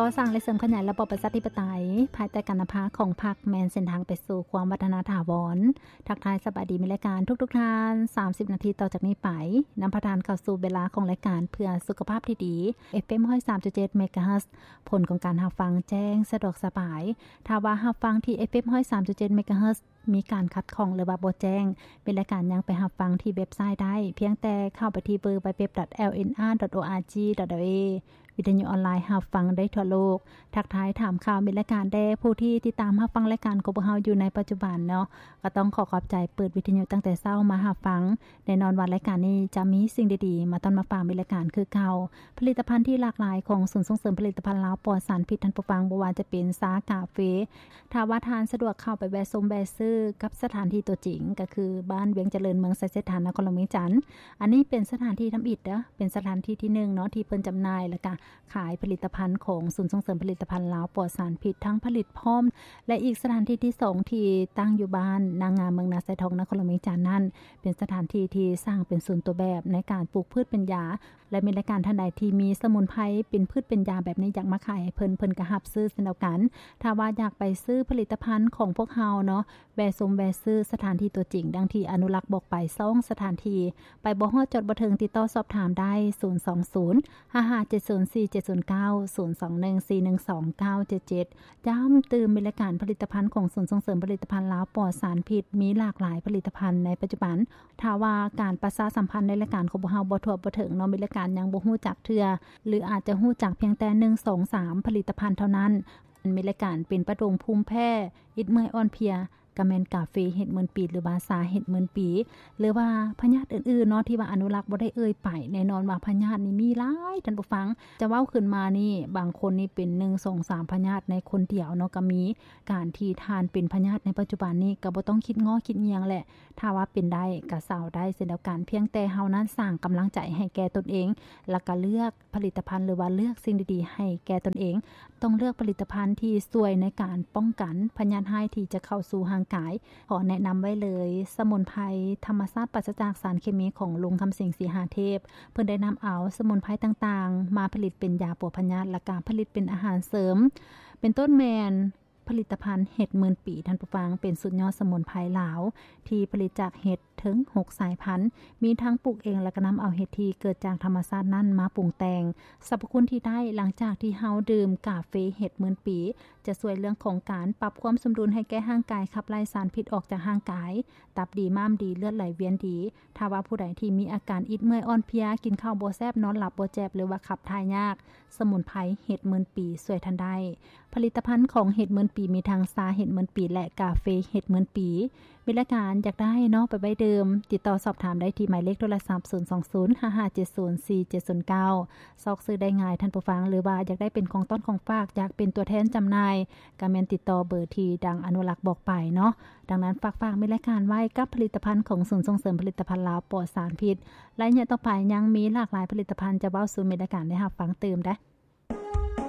ກໍ່ສ້າງ ແລະ ເສີມຂະຫຍາຍລະບອບປະຊາທິປະໄຕ ພາຍໃຕ້ການນຳພາຂອງພັກ ແມ່ນເສັ້ນທາງໄປສູ່ຄວາມວັດທະນາຖາວອນ. ທັກທາຍສະບາຍດີມິດລະການທຸກໆທ່ານ. ສາມສິບນາທີຕໍ່ຈາກນີ້ໄປ, ນຳພາທ່ານເຂົ້າສູ່ເວລາຂອງລາຍການເພື່ອສຸຂະພາບທີ່ດີ ເອັຟເອັມຮ້ອຍສາມຈຸດເຈັດເມກາເຮີດ. ຜົນຂອງການຮັບຟັງແຈ້ງສະດວກສະບາຍ. ຖ້າວ່າຮັບຟັງທີ່ ເອັຟເອັມຮ້ອຍສາມຈຸດເຈັດເມກາເຮີດ ມີການຂັດຂ້ອງ ຫຼືວ່າບໍ່ແຈ້ງ, ມິດລະການຍັງໄປຮັບຟັງທີ່ເວັບໄຊໄດ້, ພຽງແຕ່ເຂົ້າໄປທີ່ www.lnr.org.la. ວິທະຍຸອອນລາຍຮັບຟັງໄດ້ທົ່ວໂລກ. ທັກທາຍຖາມຂ່າວມິດລະການແດ່. ຜູ້ທີ່ຕິດຕາມຮັບຟັງລາຍການຂອງພວກເຮົາຢູ່ໃນປັດຈຸບັນເນາະ, ກໍຕ້ອງຂໍຂອບໃຈ. ເປີດວິທະຍຸຕັ້ງແຕ່ເຊົ້າມາຮັບຟັງ. ແນ່ນອນວ່າລາຍການນີ້ຈະມີສິ່ງດີໆມາຕ້ອນມາຝາກມິດລະການຄືເກົ່າ. ຜະລິດຕະພັນທີ່ຫຼາກຫຼາຍຂອງສູນສົ່ງເສີມຜະລິດຕະພັນລາວປອດສານພິດ, ທ່ານຜູ້ຟັງ, ບໍ່ວ່າຈະເປັນຊາ, ກາເຟ, ຖ້າວ່າທ່ານສະດວກເຂົ້າໄປແວະຊົມແວະຊື້ກັບສະຖານທີ່ຕົວຈິງ ກໍຄືບ້ານວຽງຈະເລີນ ເມືອງໄຊເສດຖາ ນະຄອນຫຼວງວຽງຈັນ. ອັນນີ້ເປັນສະຖານທີ່ທຳອິດເດີ້, ເປັນສະຖານທີ່ທີໜຶ່ງເນາະ ທີ່ເພິ່ນຈຳໜ່າຍ ແລ້ວກະຂາຍຜະລິດຕະພັນຂອງສູນສົ່ງເສີມຜະລິດຕະພັນລາວປອດສານພິດ ທັງຜະລິດພ້ອມ ແລະ ອີກສະຖານທີ່ທີສອງ ທີ່ຕັ້ງຢູ່ບ້ານນາງາມ ເມືອງນາຊາຍທອງ ນະຄອນຫຼວງວຽງຈັນນັ້ນ ເປັນສະຖານທີ່ທີ່ສ້າງເປັນສູນຕົວແບບໃນການປູກພືດເປັນຢາ ແລະ ມີລາຍການທ່ານໃດທີ່ມີສະໝຸນໄພເປັນພືດເປັນຢາແບບນີ້ ຢາກມາຂາຍໃຫ້ເພິ່ນ, ເພິ່ນກໍຮັບຊື້ເຊັ່ນດຽວກັນ. ຖ້າວ່າຢາກໄປຊື້ຜະລິດຕະພັນຂອງພວກເຮົາເນາະ, ແວະຊົມແວະຊື້ສະຖານທີ່ຕົວຈິງ ດັ່ງທີ່ອະນຸລັກບອກໄປ ສອງສະຖານທີ່. ໄປບໍ່ຮອດ, ຈອດບໍ່ເຖິງ, ຕິດຕໍ່ສອບຖາມໄດ້ ສູນສອງສູນ ຫ້າຫ້າເຈັດສູນສີ່ເຈັດສູນເກົ້າ ສູນສອງໜຶ່ງສີ່ໜຶ່ງສອງເກົ້າເຈັດເຈັດ. ຢ້ຳຕື່ມ, ມີລາຍການຜະລິດຕະພັນຂອງສູນສົ່ງເສີມຜະລິດຕະພັນລາວປອດສານພິດ ມີຫຼາກຫຼາຍຜະລິດຕະພັນໃນປັດຈຸບັນ. ຖ້າວ່າການປະຊາສຳພັນໃນລາຍການຂອງພວກເຮົາບໍ່ທົ່ວບໍ່ເຖິງເນາະ, ມີລາຍການຍັງບໍ່ຮູ້ຈັກເທື່ອ ຫຼື ອາດຈະຮູ້ຈັກພຽງແຕ່ໜຶ່ງ ສອງ ສາມ ຜະລິດຕະພັນເທົ່ານັ້ນ. ມີລາຍການເປັນປະໂດງພູມແພ້, ອິດເມື່ອຍອ່ອນເພຍ, ກະແມ່ນກາເຟເຫັດໝື່ນປີ ຫຼືວ່າຊາເຫັດໝື່ນປີ ຫຼືວ່າພະຍາດອື່ນໆເນາະ ທີ່ວ່າອະນຸລັກບໍ່ໄດ້ເອີ່ຍໄປ. ແນ່ນອນວ່າພະຍາດນີ້ມີຫຼາຍ, ທ່ານຜູ້ຟັງ, ຈະເວົ້າຂຶ້ນມານີ້ ບາງຄົນນີ້ເປັນໜຶ່ງ ສອງ ສາມ ພະຍາດໃນຄົນດຽວເນາະ ກໍມີ. ການທີ່ທ່ານເປັນພະຍາດໃນປັດຈຸບັນນີ້ ກໍບໍ່ຕ້ອງຄິດງໍຄິດຫຍັງແຫຼະ, ຖ້າວ່າເປັນໄດ້ກໍເຊົາໄດ້ເຊັ່ນດຽວກັນ, ພຽງແຕ່ເຮົານັ້ນສ້າງກຳລັງໃຈໃຫ້ແກ່ຕົນເອງ ແລ້ວກໍເລືອກ ຜະລິດຕະພັນ ຫຼືວ່າເລືອກສິ່ງດີໆໃຫ້ແກ່ຕົນເອງ. ຕ້ອງເລືອກຜະລິດຕະພັນທີ່ຊ່ວຍໃນການປ້ອງກັນພະຍາດຮ້າຍທີ່ຈະເຂົ້າສູ່ຮ່າງກາຍ. ຂໍແນະນຳໄວ້ເລີຍ, ສະໝຸນໄພທຳມະຊາດປາສະຈາກສານເຄມີຂອງລຸງຄຳສິງ ສີຫາເທບ. ເພິ່ນໄດ້ນຳເອົາສະໝຸນໄພຕ່າງໆມາຜະລິດເປັນຢາປົວພະຍາດ ແລະ ກະຜະລິດເປັນອາຫານເສີມ, ເປັນຕົ້ນແມ່ນ ຜະລິດຕະພັນເຫັດໝື່ນປີ, ທ່ານຜູ້ຟັງ, ເປັນສຸດຍອດສະໝຸນໄພລາວທີ່ຜະລິດຈາກເຫັດເຖິງຫົກສາຍພັນ, ມີທັງປູກເອງ ແລະ ກໍນຳເອົາເຫັດທີ່ເກີດຈາກທຳມະຊາດນັ້ນມາປຸງແຕ່ງ. ສັບພະຄຸນທີ່ໄດ້ຫຼັງຈາກທີ່ເຮົາດື່ມກາເຟເຫັດໝື່ນປີ ຈະຊ່ວຍເລື່ອງຂອງການປັບຄວາມສົມດຸນໃຫ້ແກ່ຮ່າງກາຍ, ຂັບໄລ່ສານພິດອອກຈາກຮ່າງກາຍ, ຕັບດີ, ມ້າມດີ, ເລືອດໄຫຼວຽນດີ. ຖ້າວ່າຜູ້ໃດທີ່ມີອາການອິດເມື່ອຍອ່ອນເພຍ, ກິນເຂົ້າບໍ່ແຊບ, ນອນຫຼັບບໍ່ແຈບ ຫຼືວ່າຂັບຖ່າຍຍາກ, ສະໝຸນໄພເຫັດໝື່ນປີຊ່ວຍທ່ານໄດ້. ຜະລິດຕະພັນຂອງເຫັດໝື່ນປີ ມີທັງຊາເຫັດໝື່ນປີ ແລະ ກາເຟເຫັດໝື່ນປີ. ມີລາຍການຢາກໄດ້ເນາະ ໄປໄວ້ດື່ມ, ຕິດຕໍ່ສອບຖາມໄດ້ທີ່ໝາຍເລກໂທລະສັບ ສູນສອງສູນ ຫ້າຫ້າເຈັດສູນ ສີ່ເຈັດສູນເກົ້າ. ຊອກຊື້ໄດ້ງ່າຍ, ທ່ານຜູ້ຟັງ, ຫຼືວ່າຢາກໄດ້ເປັນຂອງຕ້ອນຂອງຝາກ, ຢາກເປັນຕົວແທນຈຳໜ່າຍ, ກໍແມ່ນຕິດຕໍ່ເບີທີ່ດັ່ງອະນຸລັກບອກໄປເນາະ. ດັ່ງນັ້ນ ຝາກ, ຝາກມີລາຍການໄວ້ກັບຜະລິດຕະພັນຂອງສູນສົ່ງເສີມຜະລິດຕະພັນລາວປອດສານພິດ. ໄລຍະຕໍ່ໄປຍັງມີຫຼາກຫຼາຍຜະລິດຕະພັນຈະເວົ້າສູ່ມີລາຍການໄດ້ຮັບຟັງຕື່ມເດ້.